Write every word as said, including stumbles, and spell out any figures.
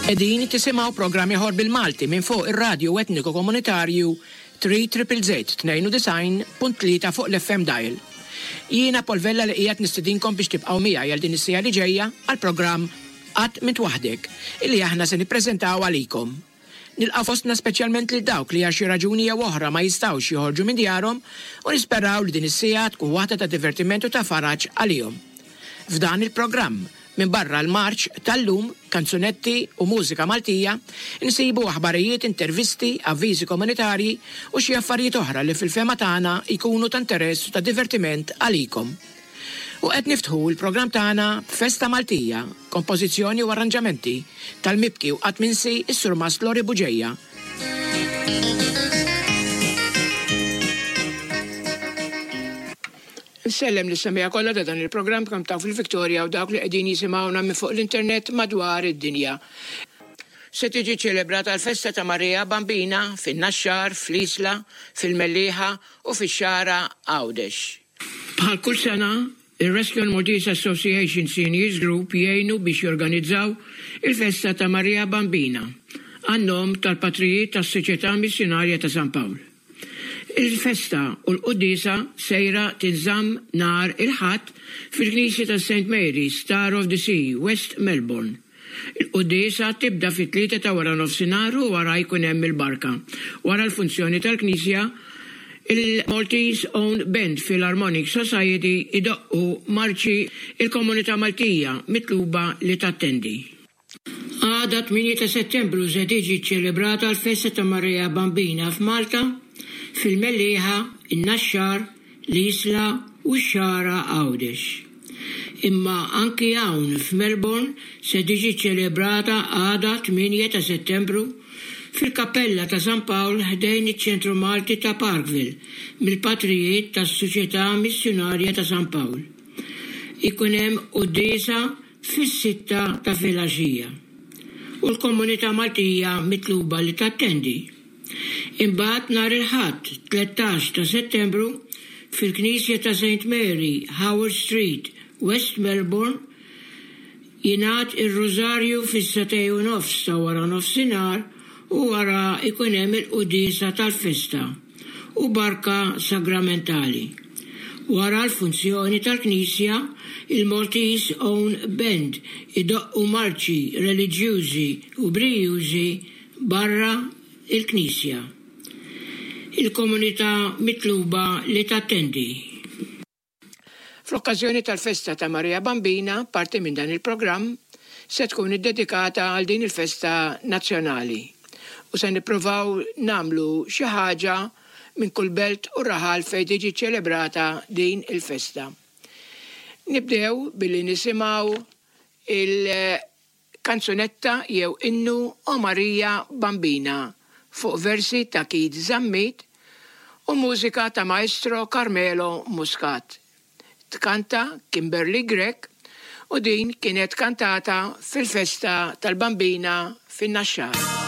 Qegħdin tisimgħu programm ieħor bil-Malti minn fuq ir-radju etniku komunitarju tlieta triple Z tnejn u disgħin punt tlieta fuq l-F M Dial. Jiena Paul Vella li qiegħed nistidinkom biex tibqgħu miegħi għal din is-siegħa li ġejja għal programm Qatt M'Int Waħdek illi aħna se nippreżentaw għalikom. Nilqa' fostna speċjalment lil dawk li għal xi raġuni jew oħra ma jistgħux joħorġu minn djarhom u nisperaw li din is-siegħa tkun waħda ta' divertiment u ta' faraġ għalihom. F'dan il-programm, minn barra l-marċ tal-lum, kanzunetti u mużika Maltija, nsibu aħbarijiet, intervisti, avviżi komunitarji u xi affarijiet oħra li fil-fehma tagħna jkunu ta' interess u ta' divertiment għalikom. U qed niftħu l-programm tagħna b'Festa Maltija, kompożizzjoni u arranġamenti tal-mibki u qatt minsi is-Surmast Lori Buġeja. Nsellem lis semmiegħa kollha ta' dan il-programm kemm taw fil-Victoria u dawk li qegħdin jisimgħuna minn fuq l-internet madwar id-dinja. Se tiġi ċelebrata l-festa ta' Maria Bambina fin-Naxxar, fl-Isla, fil-Mellieħa u fix-Xagħra Għawdex. Bħal kull sena, il-Rescue and Maltese Association Seniors Group jgħinu biex jorganizzaw il-festa ta' Maria Bambina għan-nom tal-patrijiet tas-Soċjetà Missjunarja ta' San Pawl. Il-festa u l-quddiesa sejra tinżamm nhar il-Ħadd fil-Knisja ta' Saint Mary, Star of the Sea, West Melbourne. Il-quddiesa tibda fit-tlieta ta' wara nofsinhar u wara jkun hemm il-barka. Wara l-funzjoni tal-Knisja, il-Maltese Own Band Philharmonic Society idoqqu marċi. Il-komunità Maltija mitluba li tattendi. Għada tmienja ta' Settembru se tiġi ċelebrata l-festa ta' Maria Bambina f'Malta, fil-Mellieħa, in-Naxxar, l-Isla u x-Xagħra Għawdex. Imma anki hawn f'Melbourne se tiġi ċelebrata għada tmienja ta' Settembru fil-Kappella ta' San Pawl ħdejn iċ-Ċentru Malti ta' Parkville mill-patrijiet tas-Soċjetà Missjunarja ta' San Pawl. Ikun hemm quddiesa fis-sitta ta' filgħaxija. U l-komunità Maltija mitluba li tattendi. Imbagħad nhar il-Ħadd tlettax ta' Settembru fil-Knisja ta' Saint Mary, Howard Street, West Melbourne, jingħad ir-Rużarju fis-sagħtejn u nofs ta' wara nofsinhar u wara ikun hemm il-quddiesa tal-festa u barka sagramentali. Wara l-funzjoni tal-Knisja, il-Maltese Own Band idoqqu marċi reliġjużi u brijużi barra il-Knisja. Il-komunità mitluba li tattendi. Fl-okkażjoni tal-festa ta' Maria Bambina, parti minn dan il-programm se tkun iddedikata għal din il-festa nazzjonali. U se nippruvaw nagħmlu xi ħaġa minn kull belt u raħal fejn tiġi ċelebrata din il-festa. Nibdew billi nisimgħu il-kanzunetta jew innu O Maria Bambina fuq versi ta' Keith Zammit u mużika ta' Maestro Carmelo Muscat. Tkanta Kimberly Grech u din kienet kantata fil-festa tal-Bambina fin-Naxxar.